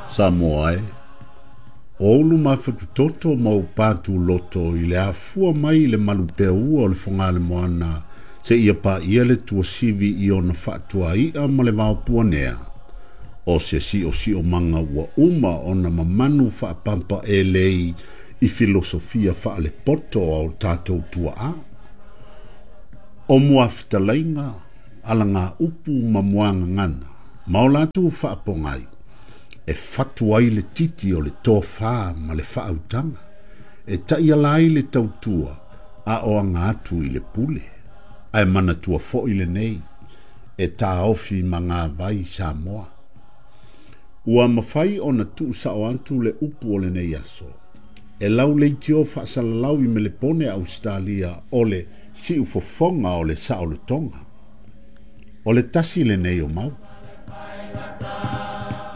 Samoa e, o ulu mafatutoto ma ou patuloto i le afua mai i le malupeaua o le Fogaalemoana seia paia le tuasivi i ona faatuai'a ma le vaopuanea, o se siosiomaga ua uma ona mamanu faapampaelei i filosofia faalepoto a o tatou tuaa. O muafetalaiga, alagaupu ma muagagana, ma o latou faapogai, e fatu ai le titi o le tofā ma le faautaga, e taiala ai le tautua a o aga atu i le pule. Ae manatua foi lenei, e taofi magavai Samoa. Ua mafai ona tuusao atu le upu o lenei aso, e lau leitio faasalalau i Melepone Ausetalia o le siufofoga o le saolotoga. O le tasi lenei o mau.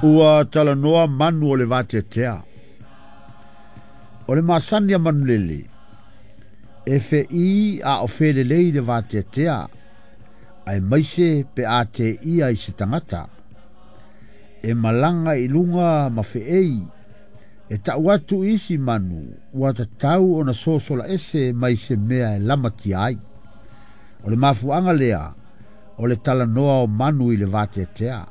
Ua talanoa manu o le vateatea. O le masani a manulele, e feʻī a o felelei le vateatea, aemaise pe a teia i se tagata. E malaga i luga ma feei, e tau atu i isi manu ua tatau ona sosola ese mai se mea e lamatia ai. O le mafuaaga lea o le talanoa o manu i le vateatea.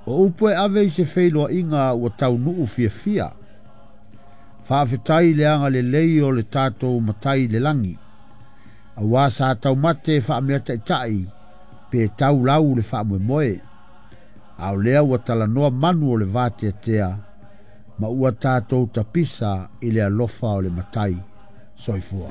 O upu e ave i se feiloaiga ua taunuu fiafia. Faafetai le agalelei o le tatou Matai i le lagi, auā sa taumate faameataitai pe tau lau le faamoemoe, a o lea ua talanoa manu o le vateatea ma ua tatou tapisa i le alofa o le Matai. Soifua.